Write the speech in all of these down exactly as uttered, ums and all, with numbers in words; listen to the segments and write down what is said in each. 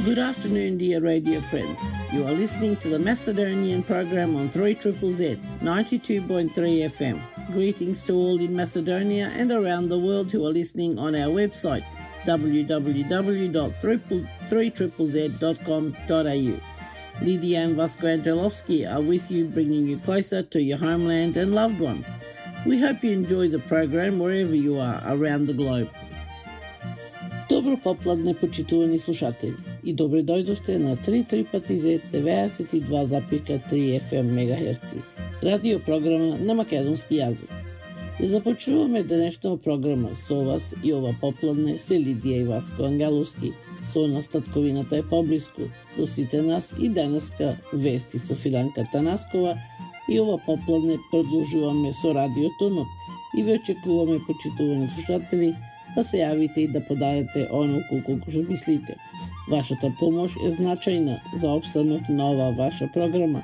Good afternoon, dear radio friends. You are listening to the Macedonian program on three Z Z Z, ninety-two point three F M. Greetings to all in Macedonia and around the world who are listening on our website, w w w dot three z z z dot com dot a u. Lydia and Vasco Angelovsky are with you, bringing you closer to your homeland and loved ones. We hope you enjoy the program wherever you are around the globe. Добро попладне, почитувани слушатели, и добре дојдовте на три пати зет деветдесет и два запирка три Ф М мегахерци, радио програма на македонски јазик. И започнуваме денешната програма со вас и ова попладне се Лидија и Васко Ангеловски. Со нас татковината е поблиску. До сите нас и денеска вести со Фиданка Танаскова и ова попладне продолжуваме со радио Тонот и ве очекуваме, почитувани слушатели, да се јавите и да подадете оноку колку што мислите. Вашата помош е значајна за опстанок на оваа ваша програма.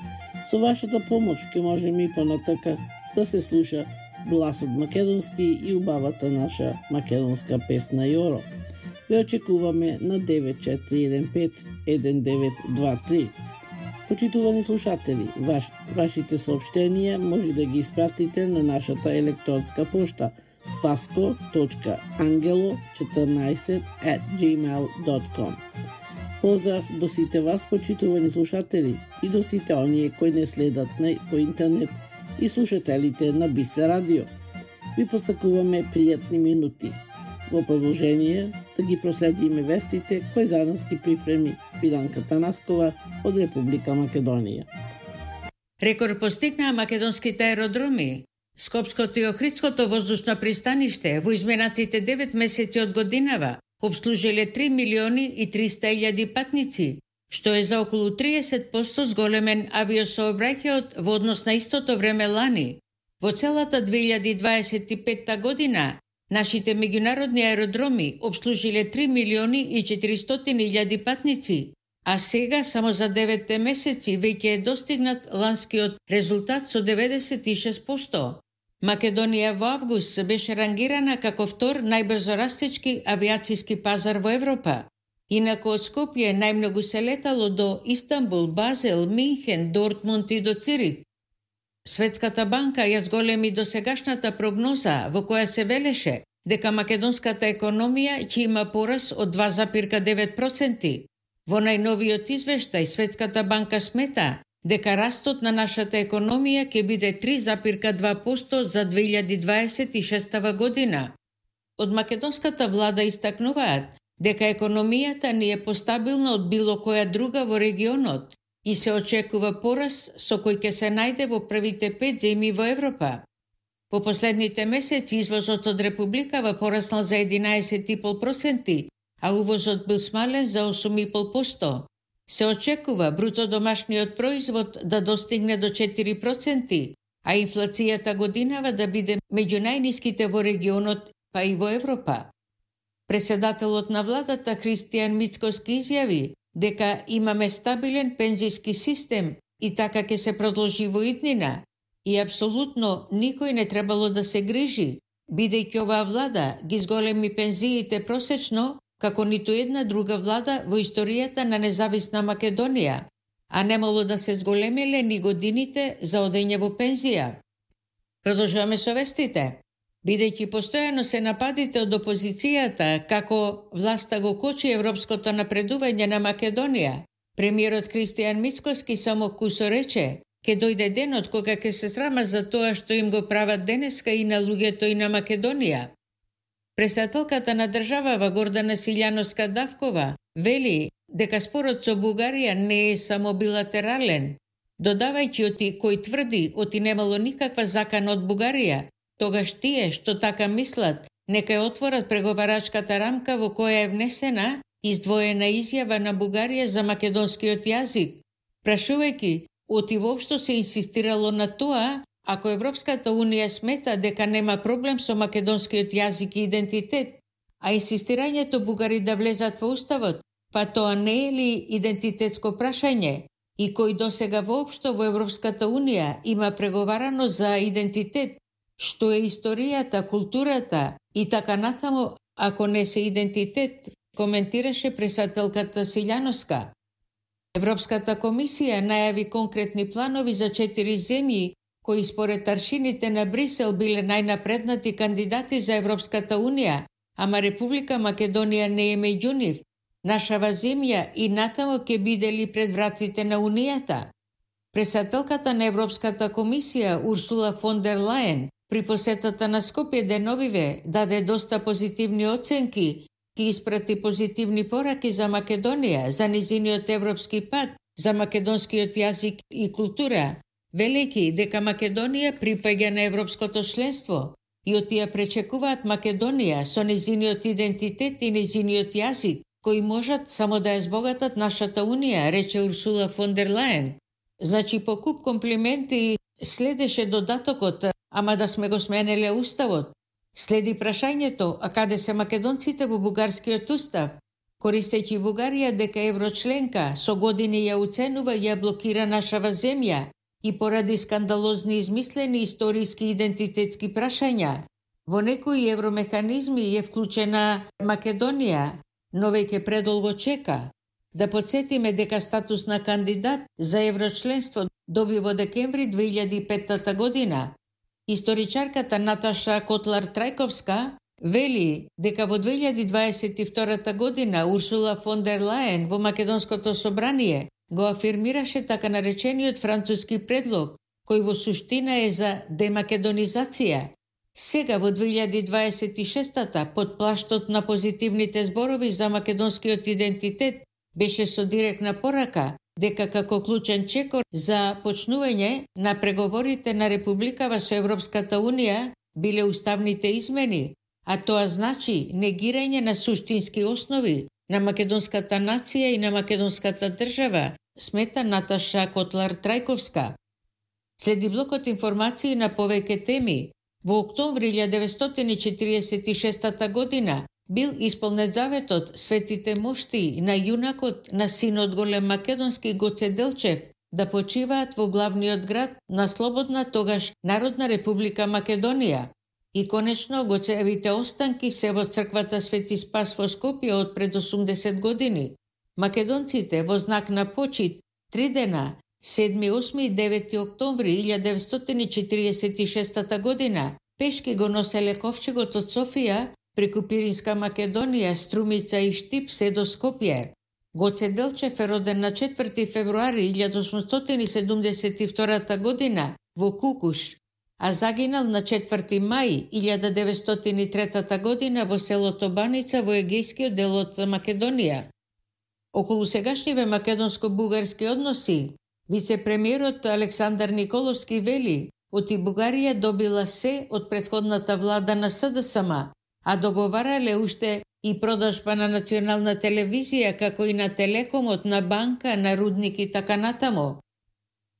Со вашата помош ќе можеме и понатака да се слуша гласот македонски и убавата наша македонска песна Јоро. Ве очекуваме на девет четири еден пет еден девет два три. Почитувани слушатели, ваш, вашите соопштенија може да ги испратите на нашата електронска пошта vasco точка angelo четрнаесет at gmail dot com. Поздрав до сите вас, почитувани слушатели, и до сите оние кои не следат на, по интернет и слушателите на Бисе радио. Ви посакуваме пријатни минути. Во продолжение да ги проследиме вестите кои за нас ги припреми Фиданка Танаскова од Република Македонија. Рекорд постигнаа македонските аеродроми. Скопското и Охридското воздушно пристаниште во изминатите девет месеци од годинава обслужиле три милиони и триста илјади патници, што е за околу триесет проценти зголемен авиосообраќајот во однос на истото време лани. Во целата две илјади дваесет и петта година нашите меѓународни аеродроми обслужиле три милиони и четиристотини илјади патници, а сега само за деветте месеци веќе е достигнат ланскиот резултат со деветдесет и шест проценти. Македонија во август беше рангирана како втор најбрзо растечки авиацијски пазар во Европа. Инаку од Скопје најмногу се летало до Истанбул, Базел, Минхен, Дортмунд и до Цирих. Светската банка ја зголеми досегашната прогноза во која се велеше дека македонската економија ќе има порас од два запирка девет проценти. Во најновиот извештај Светската банка смета дека растот на нашата економија ќе биде три запирка два проценти за две илјади дваесет и шеста година. Од македонската влада истакнуваат дека економијата ни е постабилна од било која друга во регионот и се очекува порас со кој ќе се најде во првите пет земји во Европа. По последните месеци извозот од Републикава пораснал за единаесет и пет проценти, а увозот бил смален за осум и пет проценти. Се очекува бруто домашниот производ да достигне до четири проценти, а инфлацијата годинава да биде меѓу најниските во регионот, па и во Европа. Председателот на владата Христијан Мицкоски изјави дека имаме стабилен пензиски систем и така ќе се продолжи во иднина и апсолутно никој не требало да се грижи, бидејќи оваа влада ги зголеми пензиите просечно како ниту една друга влада во историјата на независна Македонија, а немало да се зголемиле ни годините за одење во пензија. Продолжуваме со вестите. Бидејќи постојано се нападите од опозицијата како власта го кочи европското напредување на Македонија, премиерот Христијан Мицкоски само кусо рече ке дојде денот кога ќе се срама за тоа што им го прават денеска и на луѓето и на Македонија. Председателката на државава Гордана Силјановска-Давкова вели дека спорот со Бугарија не е само билатерален, додавајќи оти кој тврди оти немало никаква закана од Бугарија, тогаш тие што така мислат нека ја отворат преговарачката рамка во која е внесена издвоена изјава на Бугарија за македонскиот јазик, прашувајќи оти воопшто се инсистирало на тоа. Ако Европската Унија смета дека нема проблем со македонскиот јазик и идентитет, а инсистирањето бугари да влезат во уставот, па тоа не е ли идентитетско прашање? И кој досега воопшто во Европската Унија има преговарано за идентитет, што е историјата, културата и така натаму, ако не се идентитет, коментираше пресателката Силјановска. Европската комисија најави конкретни планови за четири земји кои според аршините на Брисел биле најнапреднати кандидати за Европската унија, ама Република Македонија не е меѓу нив. Нашава земја и натамо ќе биде ли пред вратите на Унијата? Пресателката на Европската комисија Урсула фон дер Лајен при посетата на Скопје деновиве даде доста позитивни оценки, ки испрати позитивни пораки за Македонија, за низиниот европски пат, за македонскиот јазик и култура, велики дека Македонија припаѓа на европското членство и од тие пречекуваат Македонија со низиниот идентитет и низиниот јазик, кои можат само да ја збогатат нашата Унија, рече Урсула фон дер Лајен. Значи, по куп комплименти следеше додатокот, ама да сме го сменеле уставот. Следи прашањето, а каде се македонците во бугарскиот устав? Користејќи Бугарија дека еврочленка, со години ја уценува и ја блокира нашава земја и поради скандалозни измислени историски идентитетски прашања. Во некои евромеханизми е вклучена Македонија, но веќе предолго чека. Да подсетиме дека статус на кандидат за еврочленство доби во декември две илјади и петта година. Историчарката Наташа Котлар-Трајковска вели дека во две илјади дваесет и втора година Урсула фон дер Лајен во Македонското собрание го афирмираше така наречениот француски предлог, кој во суштина е за демакедонизација. Сега во две илјади дваесет и шеста под плаштот на позитивните зборови за македонскиот идентитет беше со директна порака дека како клучен чекор за почнување на преговорите на Републикава со Европската Унија биле уставните измени, а тоа значи негирање на суштински основи на македонската нација и на македонската држава, смета Наташа Котлар-Трајковска. Следи блокот информации на повеќе теми. Во октомври илјадесетстотини деветстотини четиридесет и шеста година бил исполнет заветот светите мошти на јунакот на синот голем македонски Гоце Делчев да почиваат во главниот град на слободна тогаш Народна република Македонија. И конечно Гоцеевите останки се во црквата Свети Спас во Скопје од пред осумдесет години. Македонците во знак на почит три дена, седми, осми и девети октомври илјадесетстотини четиридесет и шеста година, пешки го носеле ковчегот од Софија преку Пиринска Македонија, Струмица и Штип се до Скопје. Гоце Делчев е роден на четврти февруари илјадесетстотини седумдесет и втора година во Кукуш, а загинал на четврти мај илјада деветстотини и трета година во селото Баница во егејскиот дел од Македонија. Околу сегашниве македонско-бугарски односи, вице-премиерот Александар Николовски вели, оти Бугарија добила се од претходната влада на СДСМ, а договарале уште и продажба на национална телевизија, како и на телекомот, на банка, на рудник и така натамо.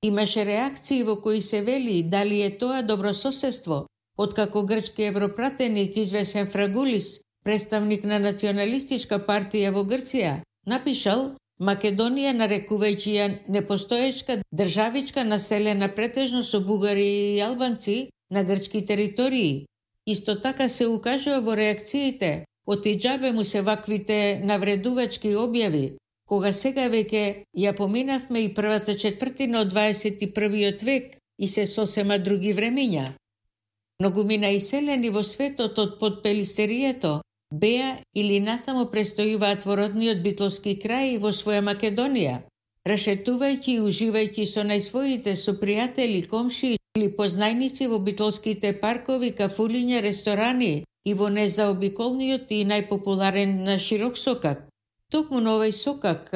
Имаше реакции во кои се вели дали е тоа добрососедство, откако грчки европратеник извесен Фрагулис, представник на националистичка партија во Грција, напишал Македонија нарекувајќи ја непостоечка државичка населена претежно со бугари и албанци на грчки територии. Исто така се укажува во реакциите, оти џабе му се ваквите навредувачки објави, кога сега веќе ја поминавме и првата четвртина од дваесет и првиот век и се сосема други времиња. Многумина иселени во светот од подпелистерието беа или натамо престојуваат во родниот битолски крај во своја Македонија, рашетувајќи и уживајќи со најсвоите сопријатели, комши или познајници во битолските паркови, кафулиња, ресторани и во незаобиколниот и најпопуларен на широк сокак. Токму на овој сокак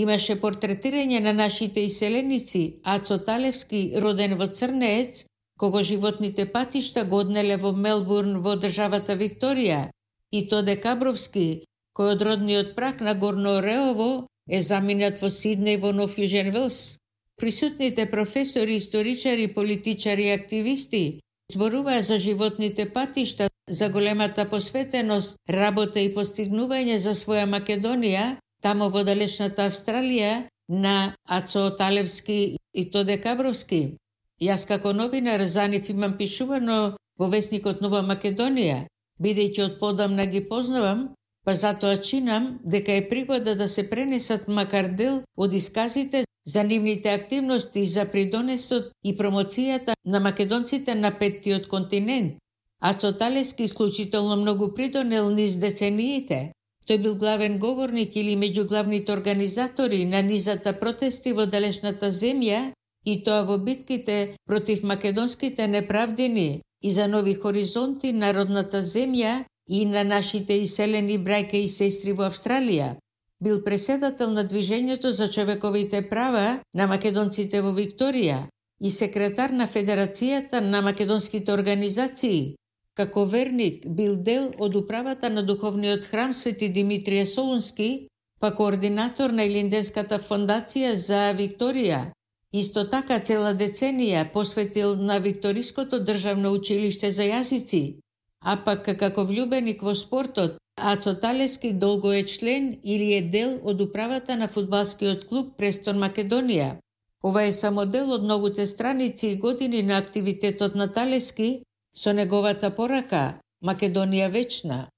имаше портретирање на нашите иселеници Ацо Талевски, роден во Црнеец, кого животните патишта го однеле во Мелбурн во државата Викторија, и Тоде Кабровски, кој од родниот прак на Горно Ореово е заминат во Сиднеј во Нов Јужен Велс. Присутните професори, историчари, политичари и активисти зборуваа за животните патишта, за големата посветеност, работа и постигнување за своја Македонија, тамо во далечната Австралија, на Ацо Талевски и Тоде Кабровски. Јас како новинар за нив имам пишувано во весникот Нова Македонија, бидејќи од подамна ги познавам, па затоа чинам дека е пригода да се пренесат макар дел од исказите за нивните активности за придонесот и промоцијата на македонците на петтиот континент. Ацо Талески исклучително многу придонел низ децениите. Тој бил главен говорник или меѓу главните организатори на низата протести во далечната земја и тоа во битките против македонските неправдини и за нови хоризонти на родната земја и на нашите иселени браќа и сестри во Австралија. Бил преседател на Движењето за човековите права на македонците во Викторија и секретар на Федерацијата на македонските организации. Како верник бил дел од управата на духовниот храм Свети Димитрije Солунски, па координатор на Илинденската фондација за Викторија. Исто така цела деценија посветил на Викториското државно училиште за јазици, а пак како влюбеник во спортот, Ацо Талески долго е член или е дел од управата на фудбалскиот клуб Престон Македонија. Ова е само дел од многуте страници и години на активитетот на Талески со неговата порака Македонија вечна.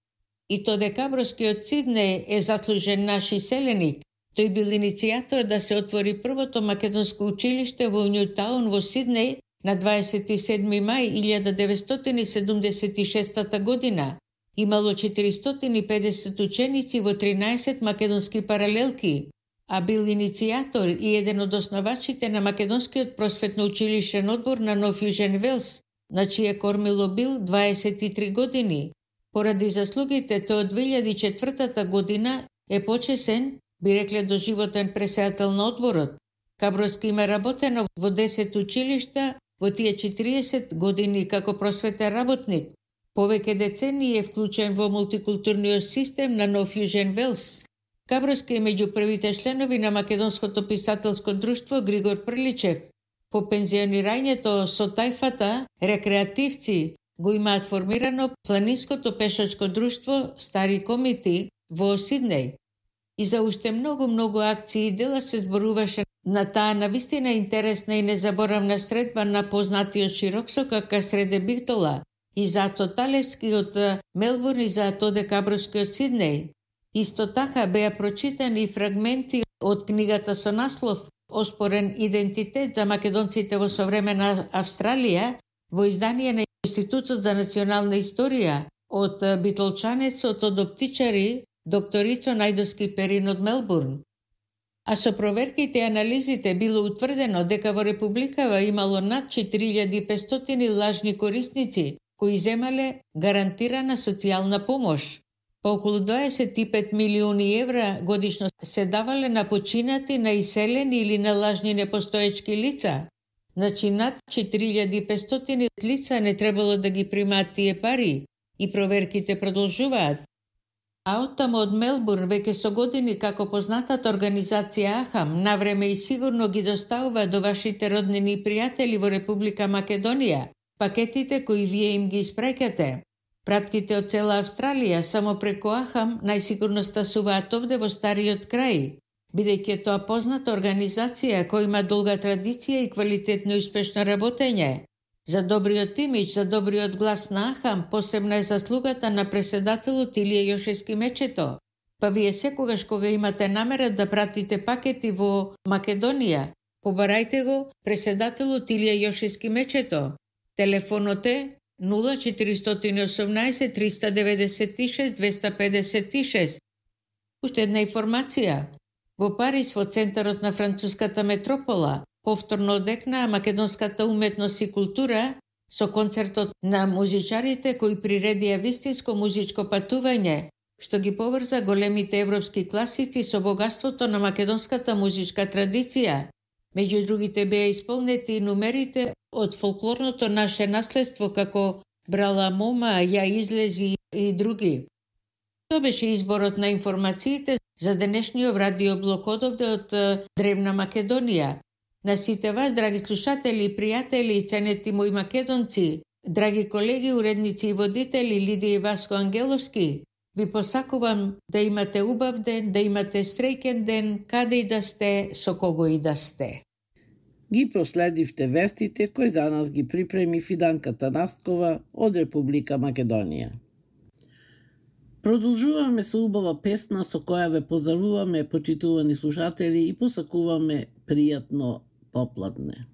И то декабровскиот Сиднеј е заслужен наш иселеник. Тој бил иницијатор да се отвори првото македонско училиште во Нјутаун во Сиднеј на дваесет и седми мај илјада деветстотини седумдесет и шеста година. Имало четиристотини и педесет ученици во тринаесет македонски паралелки, а бил иницијатор и еден од основачите на Македонскиот просветно училишен одбор на Нов Јужен Велс, на чие кормило бил дваесет и три години. Поради заслугите тој од две илјади и четвртата година е почесен, би рекле доживотен преседател на одборот. Кабровски има работено во десет училишта во тие четириесет години како просветен работник. Повеќе децении е вклучен во мултикултурниот систем на Нов Јужен Велс. Кабровски е меѓу првите членови на Македонското писателско друштво Григор Прличев. По пензионирањето со тајфата, рекреативци го имаат формирано планинското пешачко друштво Стари комити во Сиднеј. И за уште многу-многу акции и дела се зборуваше на таа навистина интересна и незаборавна средба на познатиот Широксока Касреде Бигтола и за Ацо Талевски од Мелбурн и за Тоде Кабровски од Сиднеј. Исто така беа прочитани фрагменти од книгата со наслов Оспорен идентитет за македонците во современа Австралија во издание на Институтот за национална историја од битолчанецот од оптичари доктор Ицо Најдовски Перин од Мелбурн. А со проверките и анализите било утврдено дека во Републикава имало над четири илјади и петстотини лажни корисници кои земале гарантирана социјална помош. По околу дваесет и пет милиони евра годишно се давале на починати, на иселени или на лажни непостоечки лица. Значи над четири илјади и петстотини лица не требало да ги примаат тие пари и проверките продолжуваат. А оттаму од Мелбурн веќе со години како познатата организација Ахам навреме и сигурно ги доставува до вашите роднини и пријатели во Република Македонија пакетите кои вие им ги испраќате. Пратките од цела Австралија само преку Ахам најсигурно стасуваат овде во Стариот крај, бидејќи тоа позната организација која има долга традиција и квалитетно и успешно работење. За добриот имидж, за добриот глас на Ахам посебна е заслугата на преседателот Илија Јошевски Мечето. Па вие секогаш кога имате намера да пратите пакети во Македонија, побарајте го преседателот Илија Јошевски Мечето. Телефонот е нула четиристотини и осумнаесет триста деветдесет и шест двеста педесет и шест. Уште една информација. Во Париз, во центарот на француската метропола, повторно одекнаа македонската уметност и култура со концертот на музичарите кои приредија вистинско музичко патување, што ги поврза големите европски класици со богатството на македонската музичка традиција. Меѓу другите беа исполнети и numерите од фолклорното наше наследство како Брала мома, Ја излези и други. Тоа беше изборот на информациите за денешниот радиоблок одовде од древна Македонија. На сите вас, драги слушатели и пријатели и ценети мои македонци, драги колеги, уредници и водители Лидија и Васко Ангеловски, ви посакувам да имате убав ден, да имате среќен ден, каде и да сте, со кого и да сте. Ги проследивте вестите кои за нас ги припреми Фиданка Танаскова од Република Македонија. Продолжуваме со убава песна со која ве поздравуваме, почитувани слушатели, и посакуваме пријатно попладне.